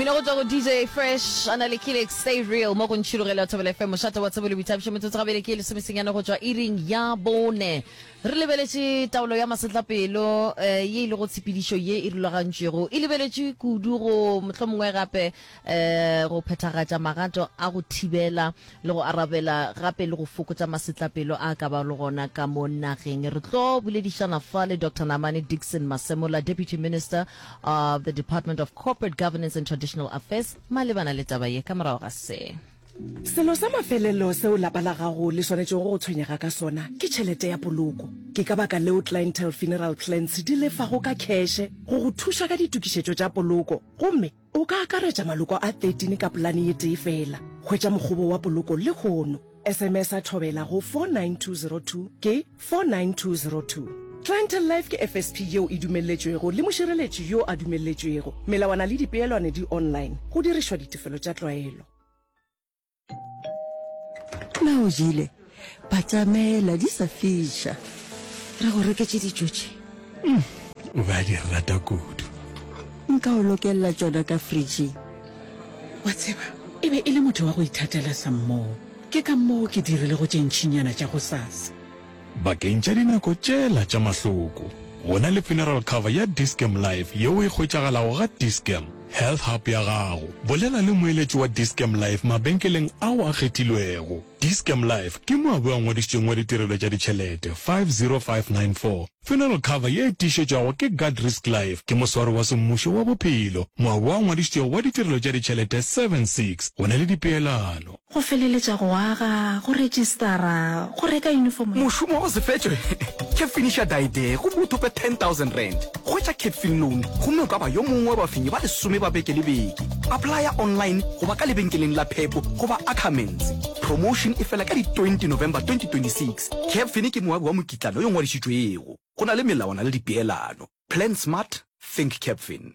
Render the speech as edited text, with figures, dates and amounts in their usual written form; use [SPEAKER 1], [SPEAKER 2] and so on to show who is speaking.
[SPEAKER 1] Mmino go tšwa go DJ Fresh a na le Kilex Stay Real mo go Ntšhilogelo ya Thobela FM mošate wa tsebo le boithabišo metsotso gabedi ke lesomesenyane go tšwa iring ya bone. Re lebeletše taolo ya masetlapelo eh, ye e lego tshepedišo ye e rulagantšwego e lebeletše kudu go mohlomongwe gape eh, go phethagatša magato a go thibela le go arabela gape le go fokotša masetlapelo a ka ba le gona ka mo nageng. Re tlo boledišana fa le Doctor Namane Dickson Masemola, Deputy Minister of the Department of Corporate Governance and Traditional Affairs malebana le taba ye ka morago ga se.
[SPEAKER 2] Selo sa mafelelo seo lapa la gago le swanetšego go tshwenyega ka sona ke tšhelete ya poloko. Ke ka baka leo Clientele Funeral Plans di lefago ka kheše go go thuša ka ditokišetšo tša poloko gomme O ka akaretša maloko a 13 ka polane ye tee fela. Hwetša mokgobo wa poloko lehono. SMS-a Thobela go 49202 ke 49202. Clientele Life ke FSP yeo e dumelletšwego le mošireletši yo a dumelletšwego. Melawana le dipeelwane di online go dirišwa ditefelo tša tlwaelo.
[SPEAKER 3] Na o jele? Batamela di sa fiša. Re go reketše dijo tše.
[SPEAKER 4] Mm, o be a di rata kudu.
[SPEAKER 3] Nka o lokelela tšona ka fridging.
[SPEAKER 5] Wa tseba, e be e le motho wa go ithatela sammoo. Ke ka moo ke dirilego tše ntšinyana tša gosasa.
[SPEAKER 4] Bakeng tša dinako tšela tša mahloko, go na le funeral cover ya Dis-Chem Life yeo e hwetšagalago ga Dis-Chem Health Hub ya gago. Bolela le moeletši wa Dis-Chem Life mabenkeleng ao a kgethilwego. Dis-Chem Life ke moabi a ngwadišitšweng wa ditirelo tša ditšhelete 50594. Funeral cover ye e tiišetšwago ke Guardrisk Life ke moswari wa semmušo wa bophelo, moabi a ngwadišitšwego wa ditirelo tša ditšhelete 76. Go na le dipeelano.
[SPEAKER 6] Go feleletša go aga, go retšistara, go reka yunifomo ya.
[SPEAKER 7] Mošomo wa go se fetšwe ke finiša daedee gomme o thope R10,000. Hwetša Capfin Loan gomme o ka ba yo mongwe wa bafenyi ba lesome ba beke le beke. Applya online goba ka lebenkeleng la Pep goba Ackermans. Promotion e fela ka di 20 November 2026. Capfin ke moabi wa mokitlana yo ngwadišitšwego. Go na le melawana le dipeelano. Plan smart, think Capfin.